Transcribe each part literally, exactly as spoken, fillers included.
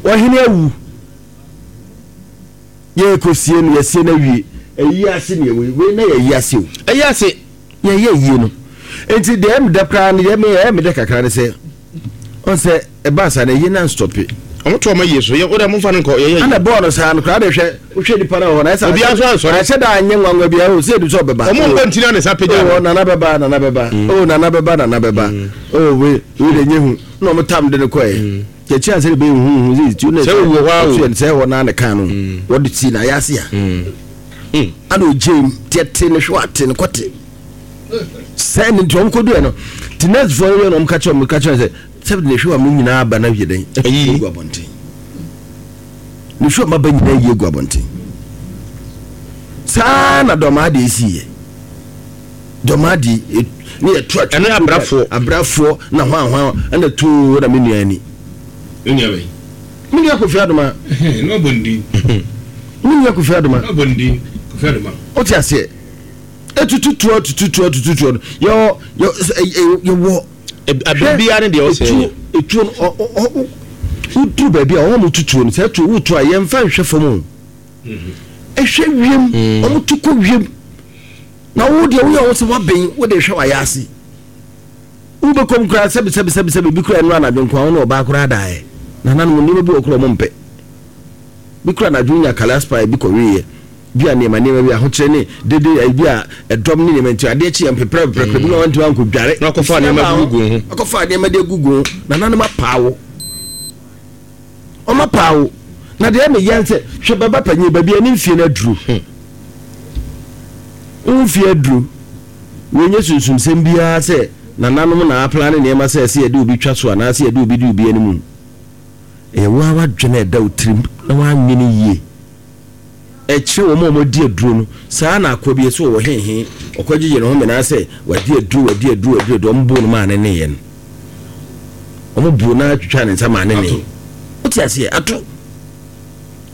Ɔhene awu, yɛkɔsie no, yɛsie no awie, ɛyi ase ne yɛwei wei na yɛyi ase o. Ɛyi ase. Yɛyɛ yie no, nti deɛ ɛmedɛ koraa no, yɛ me ɛmedɛ kakra no sɛ ɔn sɛ ɛbaa saa no, ɛyi na nstɔpe. Ɔmo to ɔmo yie so yɛ ɔdɛ mo nfa no nkɔ yɛyɛ. Ana bɔɔl no saa no koraa de, hwɛ, wohwɛ nipa no wɔ hɔ na ɛsɛ Obiara nso ansɔre. Ɛhyɛ da anyɛ nwanwa bi o, sɛ edu sɛ ɔbɛba. Ɔmo nkɔ ntina ne nsa pagya o no. Nana bɛba, nana bɛba o, nana bɛba, nana bɛba o. Wei wei de nye hu na ɔmo tam de no kɔɛ kyɛkyɛ ansa de bɛyɛ hu hu sɛ tu na Sɛ owuo hɔ a o. Sɛ sɛ hɔ naa ne kan no wɔde si na ayɛ ase a ana ogye mu tiɛte ne hwɛ ate ne kɔte sɛ ne nti ɔmo kɔ duɛ no ti nurse foɔ no yɛ na ɔmo ka kyerɛ ɔmo ka kyerɛ sɛ sɛ ne hwɛ wa mo nyinaa aba na yɛ dɛn. Ayi. Egu abɔnten, ne hwɛ ɔmo aba nyinaa yi egu abɔnten saa na dɔm ade esi yɛ dɔm ade ne yɛ to atwa. Ɛno yɛ abrafoɔ. Abrafoɔ na hwan hwan ɛna too na me nua ni. Ne nua bɛyi. Me nua Kofi Adoma. Ne ɔbɔ ne din. Me nua Kofi Adoma. Ne ɔbɔ ne din Kofi Adoma. O ti aseɛ, etututuo tututuo tututuo no yɛwɔ yɛ ɛ yɛwɔ. Abiri biara ne deɛ ɔsɛ etuo etuo no, ɔ ɔ ɔ woduru baabi a wɔn mo tutuo no sɛ etuo wotu a, yɛnfa nhwɛ fam o, ɛhwɛ wiem. Wɔn tu kɔ wiem na wo deɛ woyɛ wɔn sɛ wabɛn wo de hwɛ wayɛ ase wobɛkɔm koraa sɛbi sɛbi sɛbi sɛbi bi koraa. Ɛnu anadwo nko a wɔn na ɔbaa koraa daeɛ nananom nneɛma bi wɔ koraa wɔn mpɛ bi koraa. Anadwo nya kalaspa bi kɔweeɛ bi a, nneɛma nneɛma bi ahokyerɛ ne dede ayi bi a ɛdɔm ne nneɛma, nti adeɛ kye yɛn pepra pepra bi na wɔn ntoma nkɔ dware. Na wakɔfa nneɛma gugu ho. Akɔfa nneɛma de agugu ho. Nananom apaawo, ɔmo apaawo na deɛ ɛmɛ yɛn sɛ hwɛ bɛba panyin baabi a ne mfie no aduro, mfie aduro, wɔnyɛ sunsumsɛm biara sɛ nananom na apla ne nneɛma sɛ ɛsɛ yɛde obi twa so anaasɛ yɛde obi di obi anim. Ɛyɛ wo a wadwene ɛda wo tirim na woanwene yie. Ɛkyerɛ wɔn a wɔadi aduro no saa na akɔ bi ɛsɛ wɔwɔ hehe ɔkɔgyegye ne ho mena sɛ wadi aduro, wadi aduro, wadi aduro. Ɔmo boo no maa ne ne yɛ no, ɔmo boo no atwitwa ne nsa maa ne ne wote aseɛ ato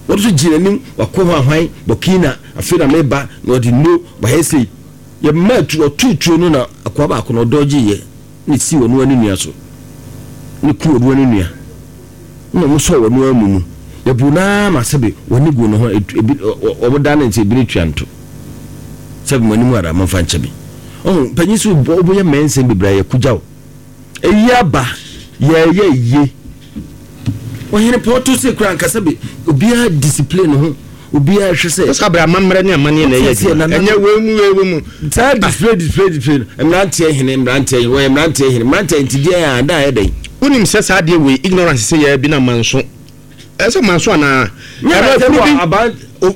wɔde so gyina anim wakɔ ho ahwan Burkina. Afei na meba na ɔde no wayɛ sei, yɛma atu ɔto tuo no na akoa baako na ɔdɔgye yɛ ne si wɔn ani nua so ne ku wɔn ani nua na ɔmo sɔ wɔn amu mu. Yɛbu naa ma sɛbi wɔn gu ne ho ebi, ɔmo da ne nsa ebi ne tua nto sɛbi mo anim ara mo nfa nkyɛn mi. Ɔmo panyin so bɔ ɔmo yɛ mɛnsɛn bebree a yɛkugya o. Eyi aba yɛyɛ yie. Ɔhene pɔtɔ se kura nkasa bi, obiara discipline ho, obiara hwɛ sɛ. Sɛ abira amammerɛ ne amanneɛ na ɛyɛ adwuma, ɛnyɛ wei mu wei mu. Saa display display display no, mmeranteɛ hene, mmeranteɛ hene, wɔyɛ mmeranteɛ hene, mmeranteɛ nti deɛ a da yɛ dɛn. Wonim sɛ saa adeɛ wei, ignorance sɛ yɛ bi na manso ɛsɛ manso anaa ɛno afuru bi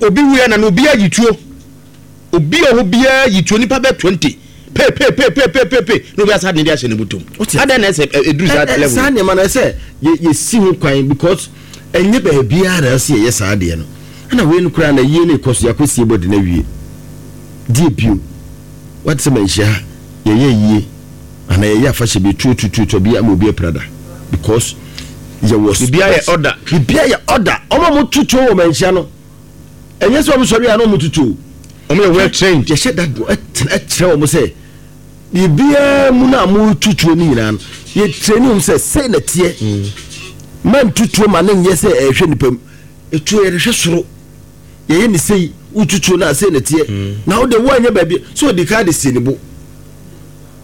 obi wuyɛ na na obi ayi tuo, obi a ɔhɔ biara yi tuo, nipa bɛ twenty pepepepepepe na obi asa de ne de ahyɛ ne bɔtɔm adan na ɛsɛ ɛduru saa level. Saa nneɛma no ɛsɛ yɛsi ho kwan because ɛnyɛ baabiara na ɛsɛ yɛyɛ saa adeɛ no. Ɛna wei no koraa na yie no ɛkɔ so, yɛakɔ sie bɔde no awie deɛ bio wate sɛ manhyia ha yɛyɛ yie anaa yɛyɛ afahyɛ bi tuo tuo tuo bi ama obi aprada because yɛwɔ. Biribiara yɛ order. Biribiara yɛ order. Ɔmo a mo tutuo wɔ manhyia no, ɛnyɛ sɛ ɔmo sɔre a na ɔmo tutuo. Ɔmo yɛ well trained. Yɛhyɛ da do ɛkyerɛ wɔn sɛ biribiara mu no a mo tutuo no nyinaa no, yɛkyerɛ ne wɔn sɛ sɛ na teɛ ma ntutuo ma ne nyɛ sɛ ɛhwɛ nipa mu. Etuo yɛde hwɛ soro, yɛyɛ ne sei, wotutuo no a sɛ na teɛ na wode woanyɛ baabi sɛ ɔdi ka de sie ne bo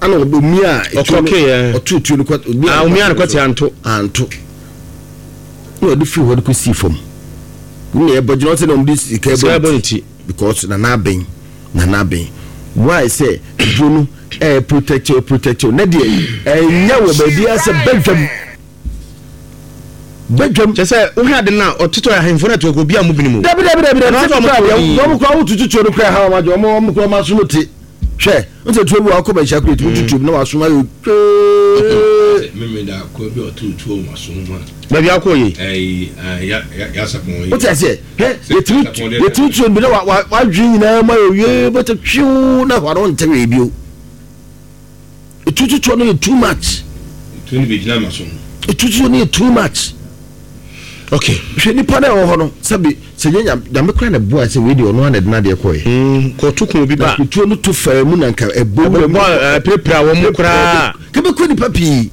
ana ɔmi a etuo no ɔto tuo no kɔ. Omi a no kɔte anto. Anto na ɔde firi hɔ de kɔ sii fam na yɛbɔ gyina ɔsɛ na ɔmo de sika ɛbɔ ne ti. Because nana abɛn, nana abɛn why sɛ duro no ɛyɛ protect o, protect o, ne deɛ ɛnyɛ wɔ baabi a sɛ bɛdwam bɛdwam. Kyɛ sɛ wohwɛ ade no a ɔtotɔ ahemfo no ato obi a mo binom. Dabi dabi dabi dabi, sɛ kura deɛ wɔn kura wotutu tuo no kura ha wɔn adwo wɔn wɔn kura wɔn asom te hwɛ n sɛ tuo bi wɔ akɔ bɛnhyia kura etumi tutu na wɔasom ayɛ twee. Mímí da kɔ bi ɔtò tuo wɔn asom mu a. Baabi akɔ yi. Ɛyi ya yasapɔn yi. O ti aseɛ, hwɛ, yɛtumi yɛtumi tuo bi na wa wa wadwi nyinaa mu ayɛ wie bɛtɛ twiw na hɔ ano ntɛ wei bio. Etututuo no yɛ too much. Tuo no bɛ gyina ma so. Etututuo no yɛ too much. Okay. Hwɛ nipa na ɛwɔ hɔ no, sɛbi sɛ nye Nyame kora na boa sɛ wei deɛ ɔno ana de n'adeɛ kɔɛ. Kɔto kun obi ba. Na tuo no to faa mu na nka ɛbɔ wura mu. Ɛbɔ pirapira wɔn mu koraa. Kebɛkɔ nipa pii,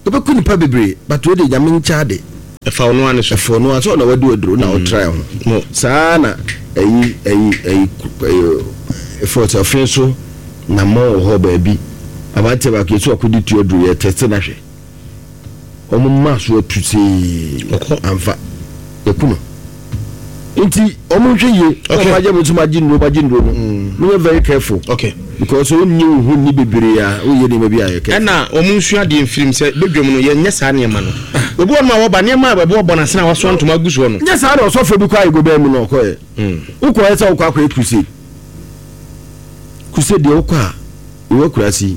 kebɛkɔ nipa bebree, but wei deɛ Nyame nkyɛn ade. Ɛfa ɔno ano so. Ɛfa ɔno ano so ɔna wadi waduro na ɔtra ho. Saa na ɛyi ɛyi ɛyi ɛyi ɛfɔ ɔfin so na mɔ wɔ hɔ baabi. Aberanteɛ baako yɛ so akɔdi tuo aduro yɛ tɛste na hwɛ. Wɔn mma so atu see amfa yɛku no. Nti wɔn nhwɛ yie. Wɔn agye mo nso mo agye nnuro mo agye nnuro no. Mo nyɛ very careful. Okay. Because wɔn nyi wo ho ni bebree a wɔyɛ nneɛma bi a yɛ careful. Ɛna wɔn nsua deɛ mfirim sɛ bedwam no yɛnyɛ saa nneɛma no. Obi wɔn a wɔba nneɛma a wɔbɔ bɔ n'asene a wasoa ntoma agu soɔ no. Nyɛ saa na ɔsɔfo bi kɔ ayɛ bɛn mu na ɔkɔ yɛ. Wokɔ yɛ sɛ wokɔ akɔyɛ crusade. Crusade deɛ wokɔ a yɛwɔ akurase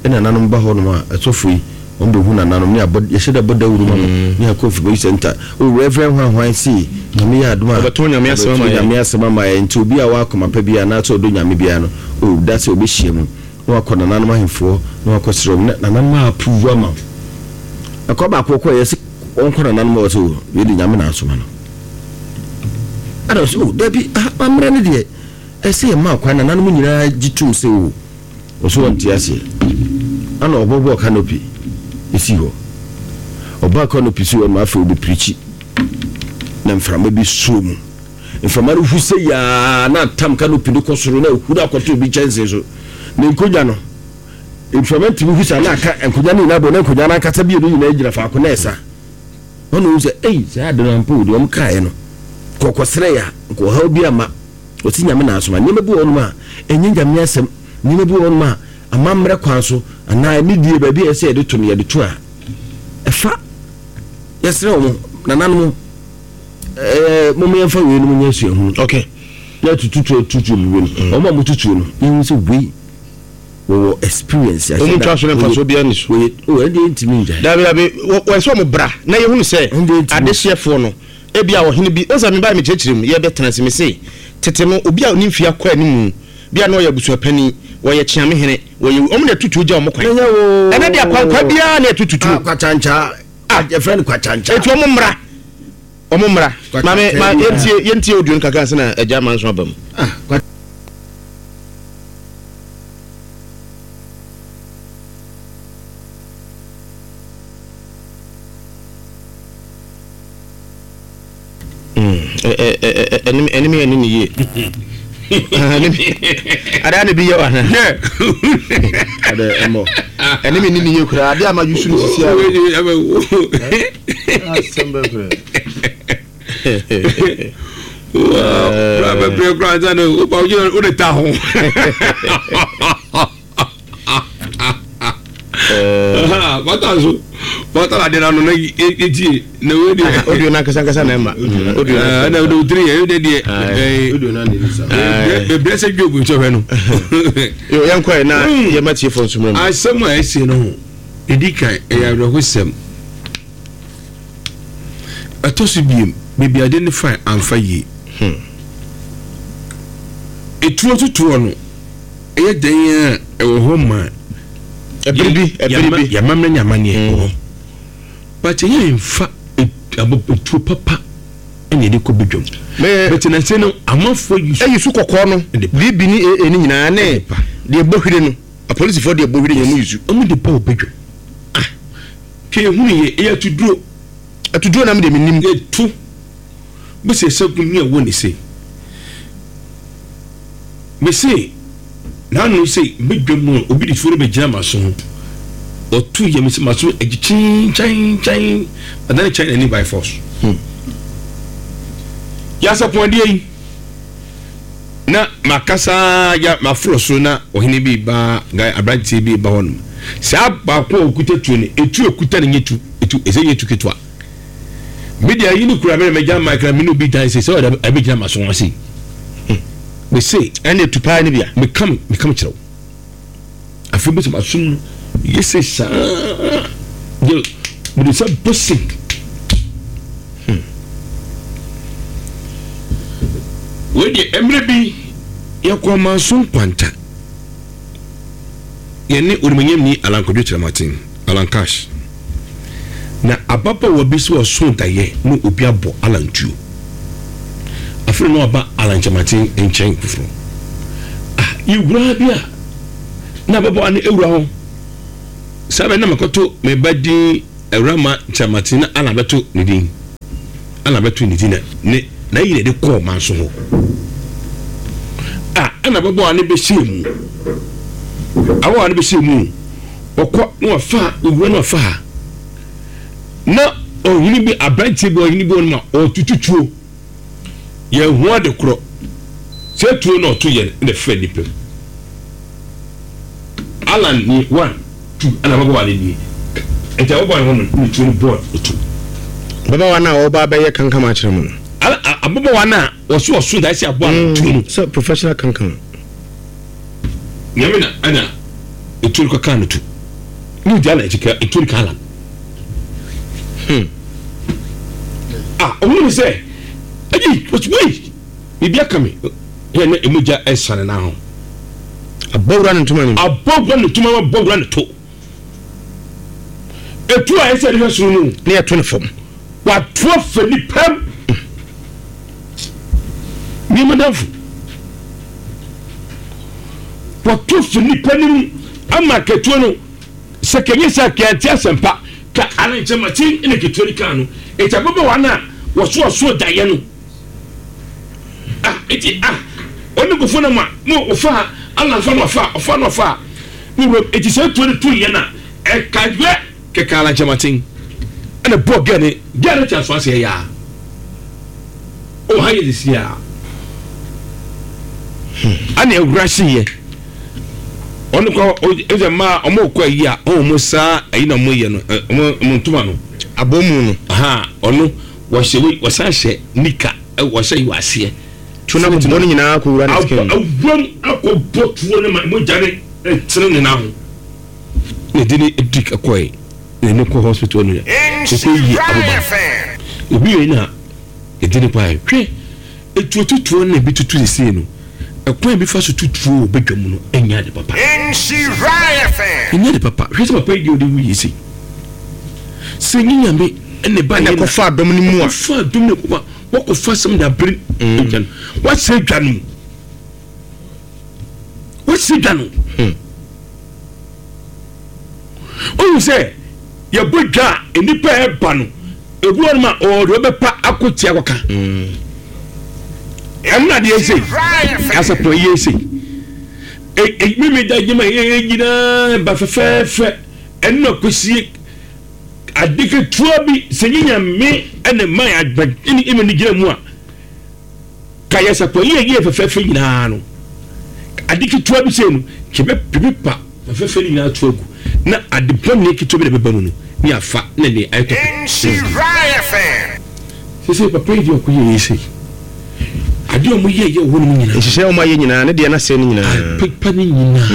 ɛna nanom ba hɔ nom a ɛsɔfo yi wɔn bɛhu nananom ne abɔ yɛhyɛ dɛ bɔ dawuro ma no ne akɔ mfimɔ center o reverend hwan hwan si nyame yɛ adom a ɔbɛtɔn nyame asɛm ama yɛ nyame asɛm ama yɛ nti obi a wakoma pa bi anaasɛ ɔdɔ nyame biara no o da sɛ ɔbɛhyia mu na wakɔ nananom ahemfoɔ na wakɔ serɛ mu na nananom a approve ama ɛkɔ baako kɔ yɛ sɛ ɔnkɔ nananom wɔ sɛ o yɛde nyame na asoma no ada sɛ o dabi ammerɛ no deɛ ɛsɛ yɛ ma kwan nananom nyinaa gye tom sɛ o ɔso wɔnte aseɛ ana ɔbɔbɔ canopy esi hɔ ɔbaa canopy si hɔ no afei ɔbɛpirikyi na mframa bi suo mu mframa no hu sɛ yaa na atam canopy no kɔ soro na ehuru akɔto obi kyɛnsee so na nkonnwa no mframa ntumi hu sa na aka nkonnwa no nyinaa bɔ na nkonnwa no ankasa bi no nyinaa gyina faako na ɛsa ɔno hu sɛ ei saa ade no ampa o deɛ ɔmo kaeɛ no kɔkɔsrɛ ya nkɔhaw bi ama ɔsi nyame na asoma nneɛma bi wɔ hɔnom a ɛnyɛ nyame asɛm nneɛma bi wɔ hɔnom a amammerɛ kwan so anaa ne die baabi a ɛsɛ yɛde to no yɛde to a ɛfa yɛsrɛ wɔn nananom ɛɛ mo yɛmfa wei no mo nyɛ suahunu. Okay. Na tututu tutu bi no wɔn a mo tutu no yɛn sɛ wei wɔwɔ experience. Wɔn twa so ne nfa so biara ni so. Wɔyɛ o ɛdi ntumi ngya. Dabi dabi wɔn sɛ wɔn bra na yɛhunu sɛ adehyeɛfoɔ no ebi a ɔhene bi ɔsɛ mi ba mi kyerɛkyerɛ mu yɛ bɛ tena se mi se tete no obi a ne mfia kɔ anim bi a na ɔyɛ abusuapanin wɔyɛ kyeame hene wɔyɛ wɔn na tutu gya wɔn kwan ɛnɛ de akwankwa biara na ɛtututu kwakyankya yɛfrɛ no kwakyankya eti wɔn mmra wɔn mmra maame ma yɛntie yɛntie audio no kakra sɛ na agya ama nso aba mu. Ɛnim yɛ ne ne yie adaa ne bi yɛ wa ɛne me ne ne yie koraa adeɛ ama yusu no sisi a asɛm bɛ koraa bɛbrɛ koraa sɛ no woba wode ta ho bata so bata na de na no na etie na we de audio na kasa kasa na ma audio na na de three e de de eh be blessed job nso hwe no yo yan kwa na ye matie fo nso mu asem a ese no ho edi kan e ya rehosem etoso biem be ade ne fine amfa yi hmm etuo tutuo no e den a e wo ho ma ebiribi ebiribi ya mamre nyama ne e but ye mfa etuo papa ene de ko bedwam but na se no amafo yi e yisu kokko no bibi ni e ni nyina ne de bohwire no a police for de bohwire nyamu yisu omu de pa obedwam ah ke ehunu ye e atuduro atuduro na me de menim etu be se segun ni e wo ne se me se na no se bedwam no obi de tuo be gina maso ho otu ye me se maso e chin chin chin and then China ni by force. Hmm. Yasa pondie yi na makasa ya mafro so na ohene bi ba guy abrantie bi ba hono sa ba ko okuta tuo ne etu okuta ne nyetu etu eze nyetu ketwa media yi ni kura me me jam micro me no bi dan se so da abi jam maso ase me say ene etu pa ne bia me kam me kam kire afi bi maso yese sa de me sa bossing. Wedi emre bi yakwa manso kwanta yene orimanyam ni alankodwo kyerematen alankash na ababa wa bi so so daye no obi abo alantuo afre no aba alankyematen enchen foforo ah iwura bi a na ababa ne ewura ho sabe na makoto me badin ewura ma kyerematen na alabeto ne din Ana bɛto ne ti na ne na yi na de kɔɔ manso hɔ a ɛna ababaawa no bɛhyɛ mu ababaawa no bɛhyɛ mu ɔkɔ na wafa owura na wafa ha na ɔhene bi aberanteɛ bi ɔhene bi wɔn ma ɔtutu tuo yɛn ho ade korɔ sɛ tuo na ɔto yɛn na fɛ nipa mu Alan ni one two ɛna ababaawa no nie nti ababaawa no hɔ no ne tuo no bɔɔl otu. Ababaawa no a ɔba abɛyɛ kankam akyerɛ mu no. Ababaawa no a wɔso ɔso da esi aboa no tuo no. Sɛ professional kankam. Nyame na ɛna etuo no kɔkaa no tu ne odi Alan akyi ka etuo no ka Alan. Hmm. Ah, ɔmo ne sɛ ɛyi wɔsi wei biribi aka mi yɛ na emu gya ɛsane na ho. Abɔwura ne ntoma ne mu. Abɔwura ne ntoma abɔwura ne to. Etu a ɛsɛ ɛde hwɛ soro no. Ne ɛto ne fam. Wato afa nipa mu. Nneɛma danfo. Wato afa nipa no mu ama ketewa no sɛ kɛnyɛ sɛ kɛnte asɛmpa ka alenkyɛmakye ne ketewa no kaa no. Eti ababaawa no a wɔso ɔso daeɛ no. Ah, eti ah, ɔne nkɔfoɔ no ma no ɔfa alamfa no ɔfa ɔfa no ɔfa ne wura eti sɛ etuo no to yɛ na ɛka yɛ kɛkɛ alankyɛmakye ɛna bɔ gɛ ne gɛ ne kyɛ so aseɛ yaa ɔha yɛ sisi a ɛna ewura si yɛ ɔno kɔ ɛsɛ mmaa ɔmo kɔ ayi a ɔmo saa ayi na ɔmo yɛ no ɔmo ɔmo ntoma no abɔmu no aha ɔno wɔhyɛ wei wɔsan hyɛ nika wɔhyɛ yi wɔ aseɛ tuo no akɔbɔ no nyinaa akɔwura ne skin awuram akɔbɔ tuo no ma mogya ne ɛtene ne nan ho na ɛde ne ɛdi kɔɛ na ɛne kɔ hospital no yɛ kɔkɔ yie aboba ebi yɛ na ɛde ne kɔɛ hwɛ etuo tutuo na ebi tutu sisi no ɛkwan bi fa so tutuo wɔ badwa mu no ɛnyɛ ade papa ɛnyɛ ade papa hwɛ sɛ papa yi deɛ ɔde wu yie si sɛ nye nyame ɛna ba yɛ kɔfa adɔm no mu a kɔfa adɔm no mu a wɔkɔfa sɛm de abere dwa no wɔasɛ dwa no wɔasɛ dwa no ohu sɛ yɛbɔ dwa a nnipa ɛba no ebi wɔn ma ɔde ɔbɛpa akɔ tia kɔka ɛmu na adeɛ ɛsɛ asapɔn yi ɛsɛ mímí da gyima yɛ nyinaa ba fɛfɛɛfɛ ɛnu na kɔsie ade ketewa bi sɛ nye nyame ɛna mma yɛ agba ɛne ɛma ne gyina mu a ka yɛ sapɔ yie yie fɛfɛɛfɛ nyinaa no ade ketewa bi sɛ no kyɛ bɛ pa fɛfɛɛfɛ no nyinaa to agu na ade bɔne ketewa bi na bɛba mu no ne afa na ne ayɛ tɔpɛ sɛ papa yi deɛ ɔkɔ yɛ yɛ sɛ ade a ɔmo yɛ yɛ wɔ hɔ nom nyinaa nhyehyɛ ɔmo ayɛ nyinaa ne deɛ n'asɛ no nyinaa pepa ne nyinaa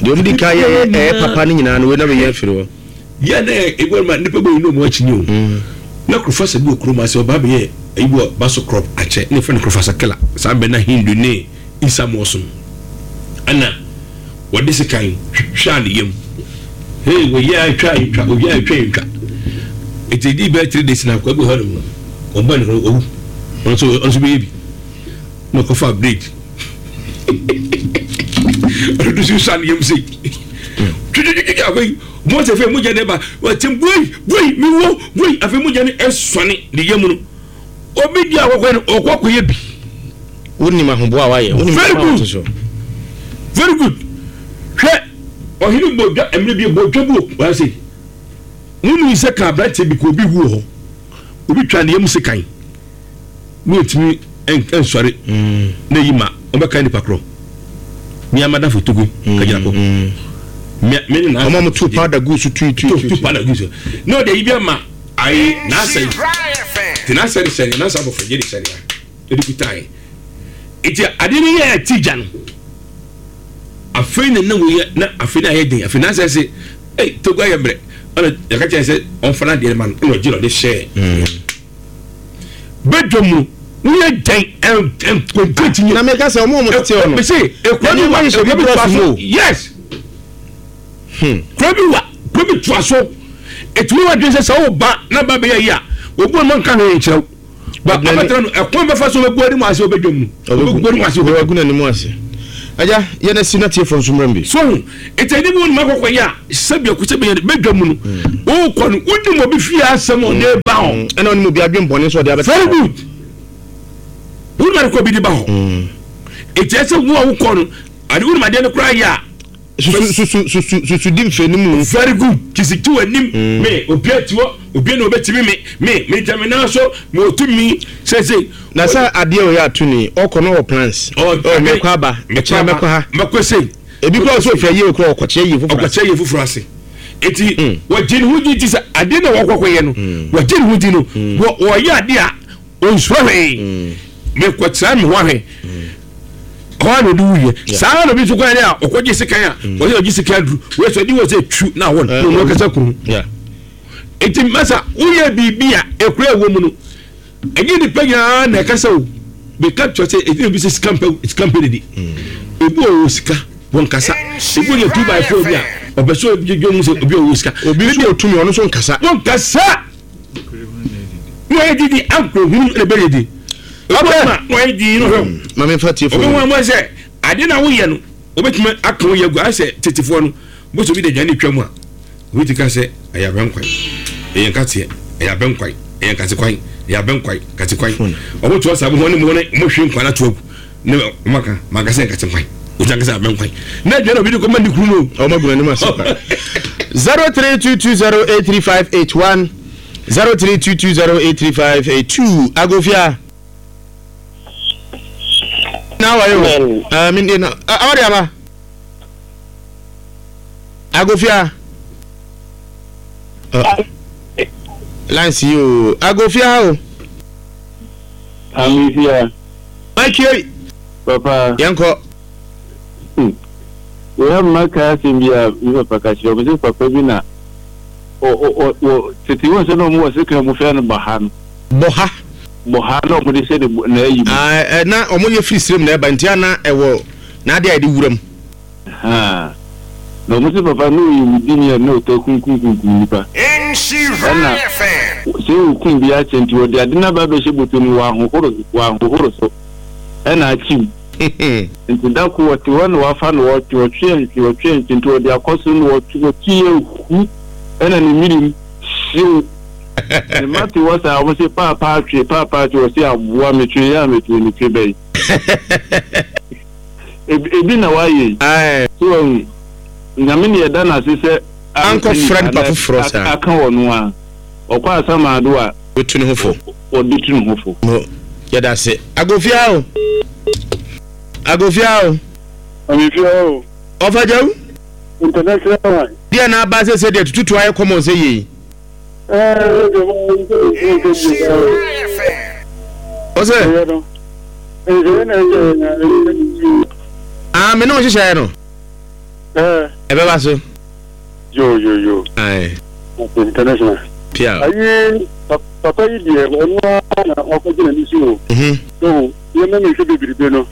deɛ ɔmo di ka yɛ ɛyɛ papa no nyinaa no wei na bɛyɛ afiri hɔ yɛ na ebi wɔn ma nipa bɔ yi na ɔmo akyi ni o na kurofasa bi wɔ kurom ase ɔbaa bɛyɛ ebi wɔ baso crop akyɛ ne fɛn kurofasa kela saa bɛ na Hindu ne Isa mɔsom ɛna wɔde sekan hwɛ ne yam hey wɔyɛ atwa atwa wɔyɛ atwa atwa eti di bɛyɛ three days na akɔ ebi hɔ nom ɔbɔ ne ho owu ɔno nso ɔno nso bɛyɛ bi na ɔkɔfa blade ɔno nso sa ne yam sei twitwitwitwi afei mo sɛ fɛ mogya ne ba wɔkyɛm boi boi mi wo boi afei mogya ne ɛsɔne ne yam no obi di akɔkɔ no ɔkɔ akɔyɛ bi. Wonim ahoboa a wayɛ wonim very good very good hwɛ ɔhene bɔ dwa mmerɛ bi bɔ dwa bi wɔ wɔn ase wonu sɛ ka aberanteɛ bi ka obi wu wɔ hɔ obi twa ne yam sekan ne otumi nsɔre na eyi ma ɔbɛka nipa korɔ mmea madafo togo kagyina kɔ mmea mmea na ɔmo tu powder gu so tu tu tu powder gu so na ɔde yi bi ama ayi n'asɛ te n'asɛ de hyɛ ne n'asɛ abɔfra gye de hyɛ ne ha ɛde kuta yi eti adeɛ no yɛ ɛti gya no afei na na wɔyɛ na afei na ayɛ den afei n'asɛ sɛ ɛy togo ayɛ mmerɛ ɛna yɛka kyerɛ sɛ ɔnfa n'adeɛ ma no ɛna ɔgye na ɔde hyɛ bɛdwa mu woyɛ dɛn ɛnkonkonti na meka sɛ ɔmo ɔmo tete hɔ no mese ekura bi wa ekura bi toa so yes kura bi wa kura bi toa so etumi wa dwen sɛ sɛ ɔba na ba bɛyɛ yi a obu ɔmo nka hwee nkyerɛw ba abatara no ɛkwan bɛfa so ɔbɛgu anim ase ɔbɛdwa mu ɔbɛgu anim ase ɔbɛgu n'anim ase agya yɛn asi na tie fɔ nso mmerɛ bi so eti ɛni bi wɔn mu akɔkɔ yi a sɛbi ɛkò sɛbi yɛn bɛdwa mu no ɔkɔ no wonim obi fie asɛm ɔde ba. ba hɔ. Ɛna ɔne mu bi adwen bɔne nso ɔde abɛta. Very good. Wonim ade kɔ obi de ba hɔ. Eti ɛsɛ wo a wokɔ no ade wonim adeɛ no koraa yɛ a. Susu susu susu susu di mfɛ no mu. Very good. Kisi ti w'anim. Me obi ati hɔ obi na obetumi me me me gyina me nan so me wɔ tumi sese. Na sɛ adeɛ ɔyɛ ato ni ɔkɔ no wɔ plans. Ɔ mɛkɔ aba ɛkyɛn mɛkɔ ha. Mɛkɔ sei. Ebi kura ɔsɛ ofura yie okura ɔkɔkyɛ yie foforɔ. Ɔkɔkyɛ yie foforɔ ase. Eti wɔgye ne ho di ti sɛ adeɛ na wɔkɔkɔ yɛ no wɔgye ne ho di no wɔ wɔyɛ adeɛ a onsuro hwee. Mekɔkyerɛ me ho ahwɛ. Hɔ a na ɔde wuyɛ. Saa na obi nso kɔyɛ a ɔkɔgye sekan a wɔyɛ ɔgye sekan duru. Wɔyɛ sɛ ɔde wɔ sɛ twu na awɔ no na ɔno akasa kunu. Eti masa woyɛ biribi a ekura ɛwɔ mu no ɛnyɛ nipa nyinaa na ɛkasa o. Beka kyerɛ sɛ ɛdi obi sɛ sika mpɛ sika mpɛ didi. Ebi wɔ wɔ sika wɔn kasa. Ebi wɔ yɛ two by four bi a ɔpɛ sɛ obi dwo mu sɛ obi wɔ wɔ sika. Obi nso wɔ tumi ɔno nso nkasa. Wɔn kasa. Wɔn yɛ didi ankoro hunu ɛna bɛ yɛ di. Okay. Wɔn yɛ di no hwɛ. Maame nfa tie fo. Obi wɔn wɔn sɛ ade na woyɛ no obetumi aka wo yɛ gu ayɛ sɛ tetefoɔ no bó so bi de aduane twa mu a obi ti ka sɛ ɛyɛ abɛnkwan ɛyɛ nkateɛ ɛyɛ abɛnkwan ɛyɛ nkatekwan ɛyɛ abɛnkwan nkatekwan ɔmo to asa mo ne mo ne mo hwe nkwan ato agu ne ɔmo aka maka sɛ nkatekwan obi ankasa abɛnkwan na aduane obi de kɔ ma ne kuru no ɔmo agu n'anim ase pa. Zero three two two zero eight three five eight one zero three two two zero eight three five eight two Agofia. Na wa yo. Ah min na awari ama. Agofia. Uh, Lance yo. Agofia o. Amifia. Mike. Papa. Yanko. Hmm. We have maka asɛm bi a mi papa ka kyerɛ ɔmo sɛ papa bi na ɔ ɔ ɔ tete wɔn sɛ na ɔmo wɔ sekan mu fɛ no bɔha no. Bɔha. Bɔha na ɔmo de hyɛ ne na ayi mu. Aa na ɔmo yɛ firi sirim na ɛba nti ana ɛwɔ n'ade a yɛde wura mu. Na ɔmo sɛ papa na ɔyɛ wudini a na ɔtɔ kunkum kunkum nipa. Ɛna sɛ okun bi akyɛ nti ɔde ade n'aba abɛhyɛ bɔtɔ mu wɔ ahohoro wɔ ahohoro so ɛna akyim. Nti da ko wɔte hɔ na wafa no wɔtwe ɔtwe ntwe ɔtwe ntwe nti ɔde akɔ so na wɔtwe wɔtwe yɛ hu ɛna ne mirim hyew. Ne mma te hɔ saa wɔn sɛ paapaa twe paapaa twe wɔsi aboa metwe yɛ a metwe ne twe bɛyi. Ebi na wayɛ yi. So wɔn nyame ne yɛda n'ase sɛ ankɔfra nipa foforɔ saa aka wɔ no a ɔkɔ asamaado a wɔtu ne ho fo wɔde tu ne ho fo. Yɛda ase Agofia o. Agofia o. Amifia o. Ɔfa gyaw. International one. Deɛ na aba sɛ sɛ deɛ tututu ayɛ kɔmɔ sɛ yie. Ɛɛ Ɔsɛ. Ah, me ne wo hyehyɛɛ no. Ɛɛ. Ɛbɛba so. Yo yo yo. Aye. International. Pia. Ayi papa yi deɛ ɔno ara na ɔkɔgyina ne so o. Mhm. So yɛn mɛ hwɛ bebrebe no.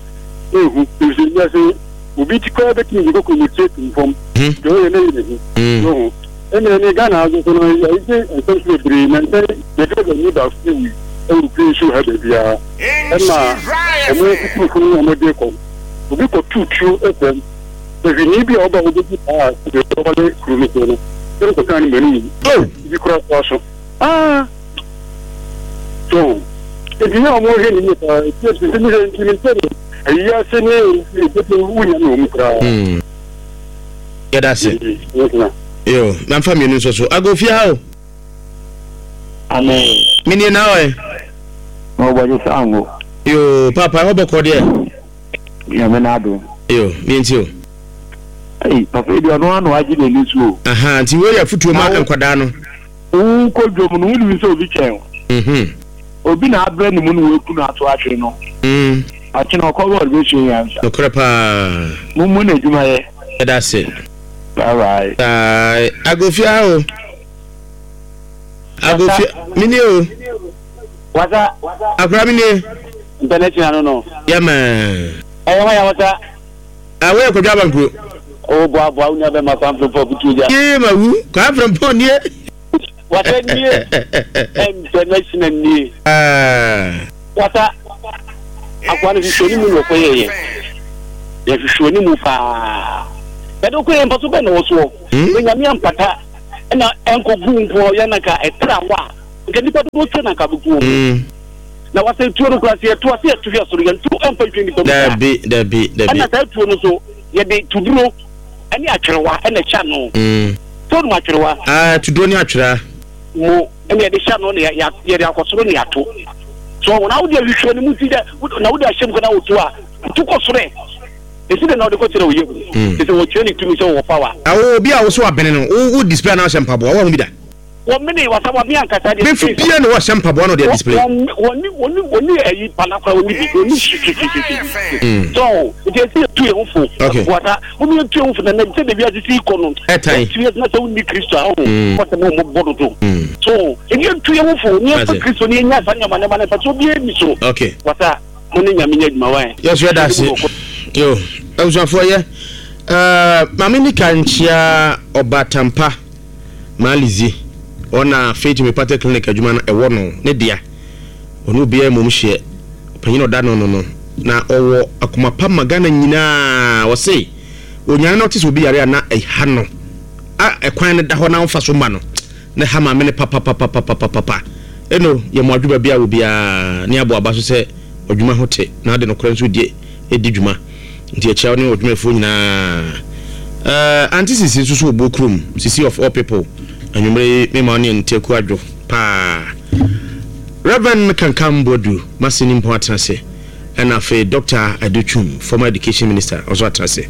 Ehu efisɛ wiase obi ti koraa bɛtumi de kɔkɔ mu tie tum fam. Deɛ ɔyɛ ne yɛ ne ho. So ɛna ɛne Ghana aso so no yɛgye nsɛm so bebree na nsɛm yɛde bɛ ni baako bi wui ɛwɔ kuro nsuo ha baabiara. Ɛma ɔmo kukurufo no ɔmo de kɔ. Obi kɔ tutuo ɛfam. Ehwini bi a ɔba obedi paa deɛ ɔwale kuro no so no. Ɛna kɔka ne mɛnu yi. Bi kura toa so. Ah! So nti nyɛ ɔmo hwɛ ne yie paa. Nti nti mi sɛ nti mi sɛ ayi ase ne ebi wunya ne wɔn koraa. Yɛda ase. Yo, mamfa mmienu nso so. Agofia o. Amen. Menie na ɔyɛ. Na ɔbɔgye sɛ ango. Yo, papa ɛhɔ bɔkɔ deɛ. Nyame n'adom. Yo, mienti o. Ei, papa yi deɛ ɔno ano agye n'ani so o. Aha, nti wei yɛ afotuo ma nkwadaa no. Wokɔ dwom no, wonim sɛ obi kyɛn wo. Mhm. Obi na abrɛ ne mu na waku no ato atwene no. Mm. Akyena ɔkɔ bɔɔl bɛsua nyansa. Nokorɛ paa. Mommu n'adwumayɛ. Yɛda ase. Bye bye. Bye. Agofia o. Agofia, menie o. Wasa. Akora menie. International no no. Yɛmɛ. Ɛyɛ hɔ ya wasa. Ah, woyɛ Kwadwo Abankuro. O boa boa wo nua bɛma Kwamfrempɔn kutu gya. Yee ma wu Kwamfrempɔn nie. Wasa nie. International nie. Ah. Wasa. Akwa no hwehwɛ ne mu na ɔkɔyɛ yɛ. Yɛhwehwɛ ne mu paa. Yɛde ɔkɔyɛ mfa so bɛn na wɔ soɔ. Hmm? Na Nyame ampata ɛna ɛnkɔgu nko a ɔyɛ na nka ɛtra hɔ a Nka nipa dodoɔ sɛ na nka bɛgu wɔ mu. Na wasɛ tuo no kora sɛ yɛto ase yɛto hwɛ soro yɛnto ɛmfa nhwɛ nipa mu. Dabi dabi dabi. Ɛna saa tuo no so yɛde tuduro ɛne atwerewa ɛna ɛhyɛ ano. Sɛ wonim atwerewa? Ah, tuduro ne atwerewa. Mo ɛna yɛde hyɛ ano na yɛde akɔ soro ne yɛato. So na wode ahwehwɛ no mu nti dɛ na wode ahyɛ mu kɔ na woto a tu kɔ soro ɛ. Ɛsi dɛ na wode kɔkyerɛ wo yam. Te sɛ wɔkyerɛ ne tumi sɛ wɔwɔ power. Awo obi a wo so abene no wo wo display na wohyɛ mpaboa wo ho bi da. Wɔmene wasa wɔme ankasa deɛ. Bɛfu bia na wɔhyɛ mpaboa na ɔde display. Wɔne wɔne wɔne ayi palakora wɔne bi wɔne hwehwehwehwehwe. So nti ɛsi yɛtu yɛn ho fo. Wasa wɔn yɛtu yɛn ho fo na na sɛ debi asisi kɔ no. Ɛtan. Ɛtu yɛn na sɛ wɔn ni Kristo a ɔho. Wɔsɛ mo mo bɔ dodo. So ebi yɛtu yɛn ho fo ne yɛn fɛ Kristo ne yɛn nya saa nyama nneɛma na nfa so obi emi so. Okay. Wasa mo ne nyame nya adwuma wa yɛn. Yɛsɔ yɛ daase. Yo abusuafoɔ yɛ ɛɛ maame nika nkyia ɔba tampa maalizi. Ɔna Faith Homeopathic Clinic adwuma no ɛwɔ no ne dea. Ɔne obiara mmom hyeɛ. Ɔpanyin ɔda no no no. Na ɔwɔ akoma pa ma Ghana nyinaa. Ɔse onyane na ɔte sɛ obi yare a na ɛha no. A ɛkwan no da hɔ na ɔmfa so ma no. Na ɛha maame no papapapapapapa. Eno yɛ mo adwuma bi a obiara ne abo aba so sɛ ɔdwuma ho te na ade nokorɛ nso die edi dwuma. Nti akyia wo ne ɔdwumayɛfoɔ nyinaa. Uh, Auntie Sisi nso so wɔ kurom. Sisi of all people. Anwummere yi mema wo ne nteku adwo paa. Reverend Kankam Boadu Masini mpo atena ase. Ɛna afei Doctor Adutwum, former education minister, ɔso atena ase.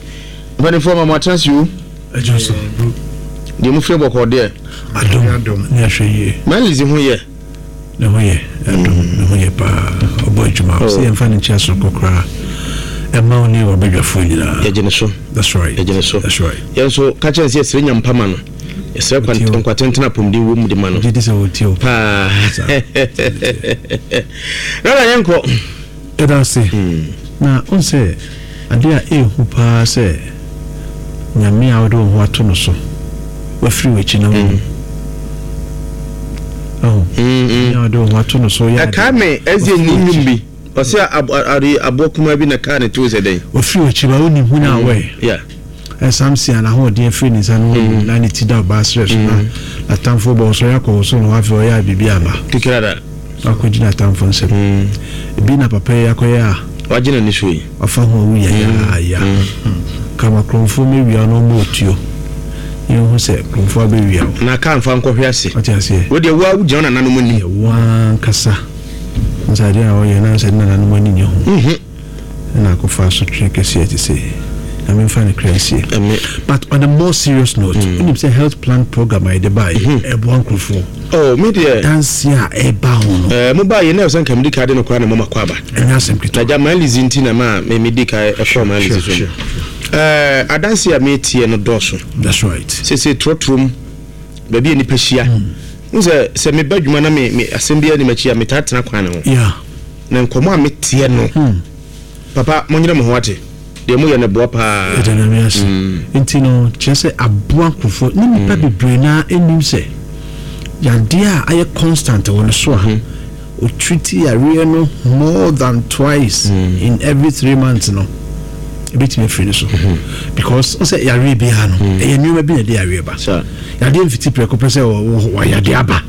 Mpanimfoɔ ma mo atena ase o. Ɛgye so. Deɛ mo fie bɔkɔɔ deɛ. Adom adom ne ahwɛ yie. Malizi ho yɛ. Ne ho yɛ adom ne ho yɛ paa. Ɔbɔ adwuma. Ɔsɛ yɛmfa ne nkyɛn so koraa. Ɛma wo ne wabadwafoɔ nyinaa. Yɛgye ne so. That's right. Yɛgye ne so. That's right. Yɛn nso ka kyerɛ sɛ yɛsrɛ nyampa ma no. Yɛsrɛ nkwatentena apɔmuden wɔ mu de ma no. Gye di sɛ wɔtie o. Paa. Rara yɛnkɔ. Ɛda ase. Na ɔn sɛ adeɛ a ɛɛhu paa sɛ nyame a wode wo ho ato no so wafiri w'akyi na wo. Oh. Nyame a wode wo ho ato no so yɛ. Ɛkaa me ɛsɛ ni nnwom bi. Ɔsɛ aboɔ kumaa bi na kaa ne to sɛ dɛn. Wafiri w'akyi ba wonim hu na awɛ. Yeah. Samson a n'ahoɔden afiri ne nsa no na ne ti da ɔbaa serɛ so na n'atamfo bɔ ɔsɔre akɔ wɔ so na wafei ɔyɛ a biribi aba. Kekera akɔgye n'atamfo nsɛm. Ebi na papa yi akɔyɛ a. Wagye n'ani so yi. Wafa ho awu yayaaya. Kama kurɔmfoɔ mɛwia no ɔmmɔ otuo. Yɛnhu sɛ kurɔmfoɔ abɛwia wo. Na kaa mfa nkɔhwe ase. Ɔte aseɛ. Wo deɛ wo a wogyina wo nananom anim. Yɛ wo ankasa. Nsa adeɛ a ɔyɛ na sɛ ne nananom ani nyɛ ho. Na akɔfa asotwe kɛseɛ te sɛ na memfa ne kra nsie. But on a more serious note, wonim sɛ health plan program a yɛde baeɛ ɛboa nkurɔfoɔ. Oh, me deɛ. Danse a ɛba ho no. Eh, mo baeɛ na ɛsɛ nka medi ka de no koraa na mama kɔ aba. Ɛnyɛ asɛm ketewa. Na gya Malizi nti na ma me medi ka ɛkɔɔ Malizi so. Eh, adanse a metie no dɔɔso. That's right. Sese trɔtrom baabi a nipa hyia. N sɛ sɛ meba adwuma na me me asɛm biara ni m'akyi a metaa tena kwan ne ho. Yeah. Na nkɔmmɔ a meteɛ no. Papa, monyere mo ho ate. Deɛ moyɛ no boa paa. Ɛda Nyame ase. Nti no kyerɛ sɛ aboa nkurɔfoɔ ne nnipa bebree naa nnim sɛ yadeɛ a ayɛ constant wɔ ne so a ɔtriti yareɛ no more than twice in every three months no ɛbɛtumi afiri ne so. Because ɔsɛ yareɛ biara no ɛyɛ nneɛma bi na ɛde yareɛ ba. Yadeɛ mfiti prɛko pɛ sɛ wɔyadeɛ aba.